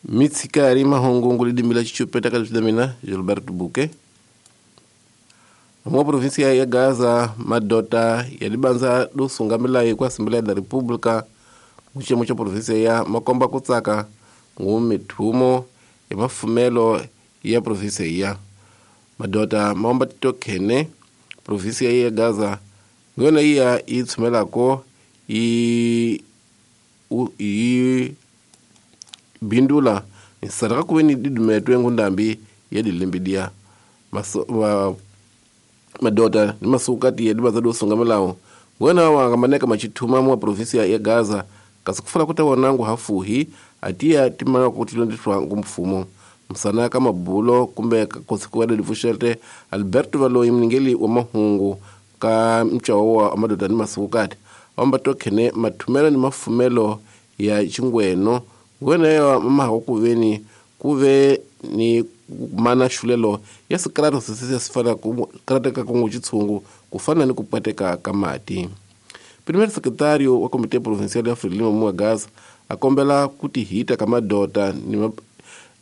Mitsikari mahungu ngulidimila chichupeta ka Gilberto Buque. Mwa província ya Gaza madota ya libanza do sungamila kwa Assembleia da República muchemo cha província ya makomba kutsaka ngumithumo ya mafumelo ya província ya madota maomba titokhene província ya Gaza ngona iya itsumelako i bindula nsaraka kuweni didumetwe ngundambi ya dilembidia madota ni masukati ya dibaza do sungamelawo ngona wangamaneka machithuma mwa província ya Gaza kasi kufala kuta wanangu hafuhi atiya timana kutilondiswa ngumfumo msana kama bulo kumbe kosikuwa difushete Alberto Valoyi mningeli wa mahungu ka mchawo wa madota ni masukati omba tokhene mathumelo ni mafumelo ya chingweno ngwena ya mama kuveni kuve ni mana shulelo ya sikrato sisi sifana ku kongo chitsungu kufana ni kupweteka kamati. Primeiro secretário wa Comitê Provincial ya Frelimo mwa Gaza akombela kuti hita kama dota ni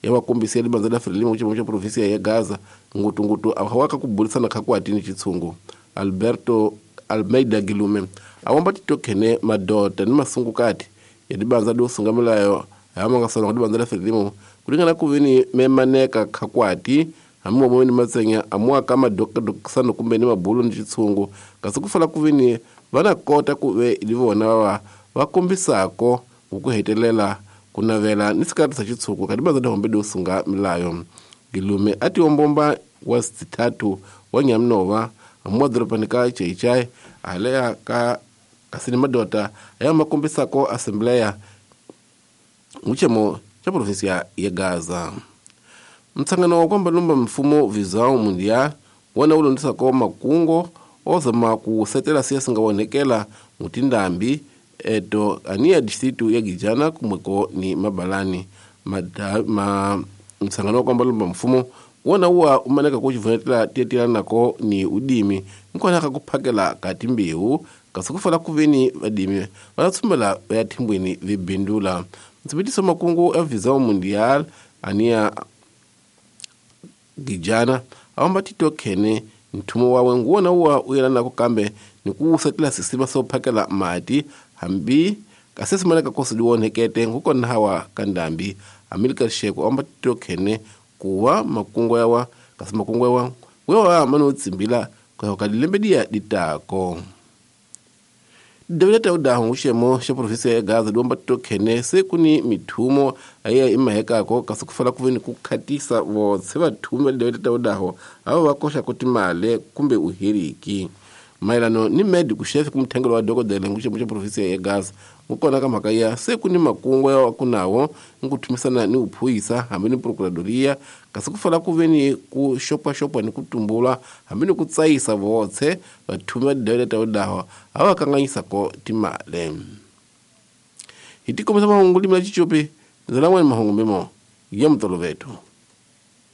ya wakombisia libanza la Frelimo chimo cha província ya Gaza ngutungutu awaka kubulisana khakwati ni chitsungu. Alberto Almeida Gilume awomba titokhene madota ni masungukati ya libanza do sungamelayo amangasana ku libanza la Frelimo kulingana kuveni memaneka khakwati amuwa ni matsenya amuwa kama dokisano kumbe ni mabulo ni chitsungu kasi kufala kuveni vana kota kuve ilivona wa vakombisako ukuhetelela kunavela ni sikati sa chitsuku kadibaza dahombe dosunga milayo. Gilume ati ombomba wa sitatu wa Nyamnova amuwa doropanika chaichai alea ka kasini madota aya makombisako assembleya muchemo cha província ya Gaza. Mtsangano wa kwamba lumba mfumo vizao mundia wana ulondisako makungo ozama kusetela siasa ngawonekela mutindambi eto ania distritu ya Gijana kumweko ni mabalani msangano wa kwamba lumba mfumo wana uwa umaneka kuchivunetela tietila nako ni udimi nkona kakuphakela katimbiu kasukufala kuveni vadimi vanatsumela ya timbwini vibindula. Mtsibitiso makungu ya vizao mundial ania Gijana awamba titokhene nthumo wawe nguwona uwa uyelana kukambe ni kuusetela sisima sophakela mati hambi kasesimaneka kosi liwonekete ngukona hawa kandambi Amilcar Sheko awamba titokhene kuwa makungu yawa kasi makungu yawa wewa mano tsimbila kwa kadilembedia ditako. Dawilata udahu ushemo sha província ya Gaza diomba titokhene sekuni mithumo aya imahekako kasi kufala kuveni kukhatisa votse vathume dawilata udaho avo vakosha kuti male kumbe uhiriki. Maelano ni medico chefe kumthengelo wa dokodela nguxemo xa província ya Gaza ngukona ka mhaka ya sekuni makungu ya kunawo nguthumisana ni uphuyisa hambi ni procuradoria kasi kufala kuveni ku xopaxopa ni kutumbula hambi ni kutsayisa votse vathume dawilata udaho ava kanganyisako timale. Hi tikomisa mahungu limela chichopi ndzalan'wani mahungu mimo ya mutoloveto.